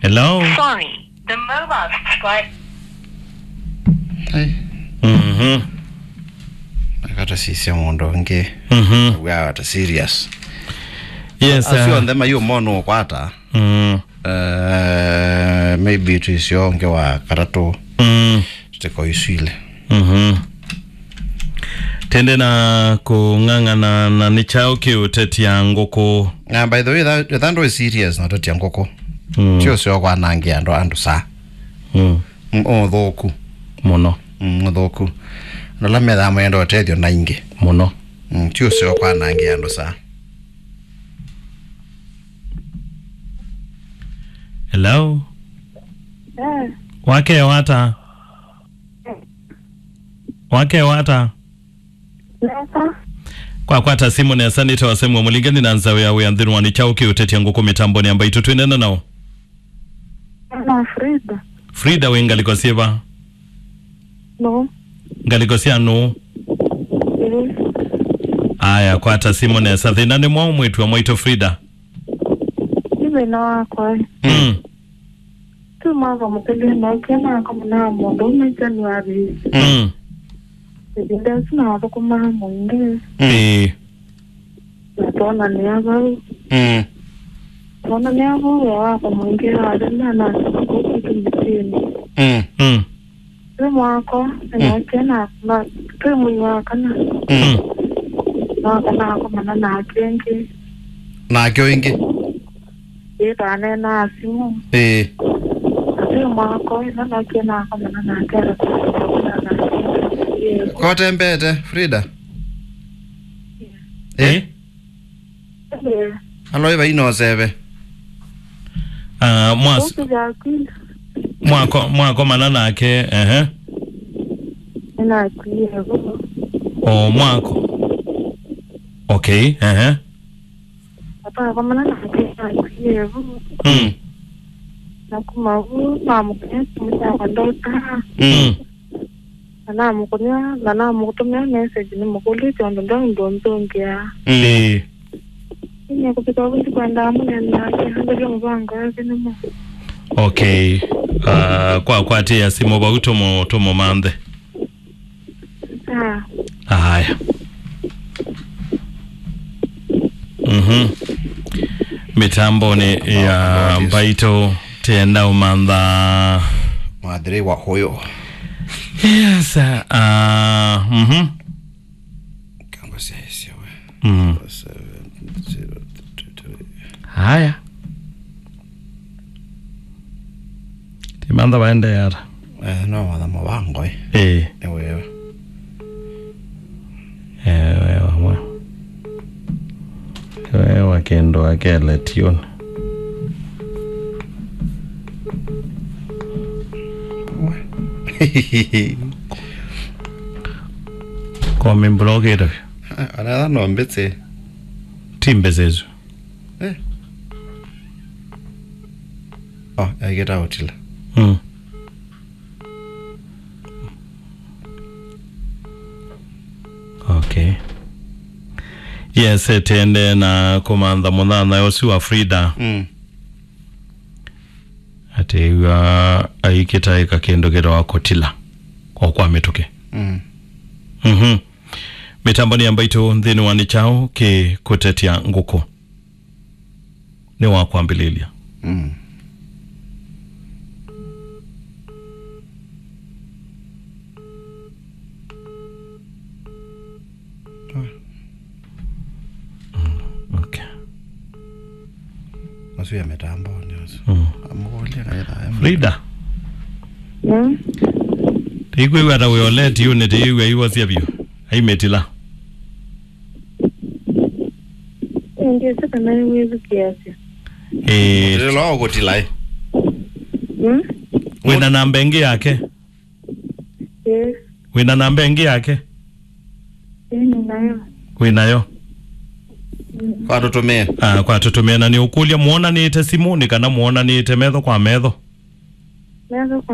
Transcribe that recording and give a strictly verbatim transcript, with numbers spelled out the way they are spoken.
Hello? Sorry, the mobile subscriber. Hey. Mhm. Akatasisya mũndũ ũngĩ. Mhm. Wĩata serious. Yes, asu uh, onthe mayũmona ũkwata. Mm. Uh, maybe tũisyo ũngĩ wa katatũ. Mm. Tũtĩko isu ilĩ. Mhm. Tende na kũng'ang'ana na nĩ kyaũ kĩũtetya ngũkũ? Na by the way, that, that is serious na ũtetya ngũkũ. Mm. Ti ũseo kwanangĩa andũ, andũ saa. Mm. Mm, ũthũku. Mũno. Mm, ũthũku. Andũ ala methaa mayenda ũtethyo na ingĩ. Mũno. Mm, ti ũseo kwanangĩa andũ saa. Hello? Eh. Wakya ata? Wakya ata? Nesa. Kwakwata simũ nesa, nĩtawa Samuel Mũlinga, nĩ na nzaũ ya wĩa nthĩnĩ wa nĩ kyaũ kĩũtetya ngũkũ mĩtambonĩ ya Mbaitũ, twĩneena naũ? Na Frida. Frida, wĩ ngalĩko syĩva? No. Ngalĩko sya nũũ? Ĩĩ. Aya, kwata simũ nesa. Thĩna nĩ mwaũ mwĩĩtu wa mwaitũ Frida? Nĩ thĩna wakwa. Mm. Twĩ mwaka mũthelu, nookie nakomana na mũndũũme January. Mm. Ĩvinda ĩsu nathũkũmaa mũingĩ. Mm. Ĩĩ. Na twonanĩa vau. Mm. Twonanĩa vau wĩa wakwa mũingĩ wathela, nasyoka kũu kwitũ mĩsyĩnĩ. Mm. Mm. Twĩ mwako, mm, nake na, na, twĩ mwei wa kana. Mm. Wa kana akomana nake ĩngĩ. Nake o ĩngĩ? Ĩĩ, twaneenaa simũ. Ĩĩ. Na twĩ mwako, ĩla nake na akomana nake, akakomana nake ĩngĩ. Kotembeete, Frida? Ĩĩ. Ĩĩ. Ĩĩ. Aloi vai na ũseve. Ah, mwas-, Ũkĩthya kwina. Mwako-, mwakomana nake, ehe. Nĩnakwie vo. O mwako. Okay, ehe. Atakomana nake nakwie vo. Mm. Na kuma vu, namũkũnĩa simũ syakwa ndota. Mm. Na namũkũnĩa, na namũtũmĩa message nĩmũkũlĩtye ũndũ ndoĩ ndũnzũngĩa. Mm. Ĩĩ. Nĩkũvika ũvĩti kwendaa mũnene nake, ambĩlya mũvango wake nĩmo. Okay. Ah, kwa kwatĩĩa simũ vau tũmũ-, tũmũmanthe. Ah. Aya. Mhm. Mĩtambonĩ ya Mbaitũ tenda ũmantha. Mwathĩrĩ wa huyo. Yes, uh, mhm. Kango sya isyo we. Mm. Seven zero two three. Haya. Timantha waendeea ata? Eh, no watha mũvango, eh. Eh. Nĩ wewe. Eh, wewe mwe. Wewe kĩndũ akele tioni. Kwa mĩmbũla ũkĩte. Anatha no mbĩsĩ. Ti mbĩsĩ isu. Eh. Oh, aikĩta ũtila. Mm. Okay. Yes, tende na kũmantha mũnyanyae ũsu wa Frida. Mm. Atĩ ĩw'a aikĩtaĩka kĩndũ kĩtawa kũtila o kwa mĩtũkĩ. Mm. Mhm. Mĩtambonĩ ya Mbaitũ nthĩnĩ wa nĩ kyaũ kĩ kũtetya ngũkũ? Nĩ wa kwambĩlĩlya. Mm. Mm, okay. Asu ya mĩtambonĩ asu. Mm. Amũkũlya kaitha. Frida. Mm. Tĩikwĩw'a ta wĩ oleti yu nĩ tĩiw'a iwasya vyũ. Aimĩtila. Ndĩsĩ kana nĩwĩthukĩĩasya. Eh. Ndĩla ũkũtila, eh. Mm? Wĩna namba ĩngĩ yake? Yes. Wĩna namba ĩngĩ yake? Ĩĩ, nĩnayo. Wĩnayo? Mm. Kwa tũtũmĩe. Ah, kwa tũtũmĩe, na nĩũkũlya, mwonanĩte simũ nĩ kana mwonanĩte metho kwa metho? Metho kwa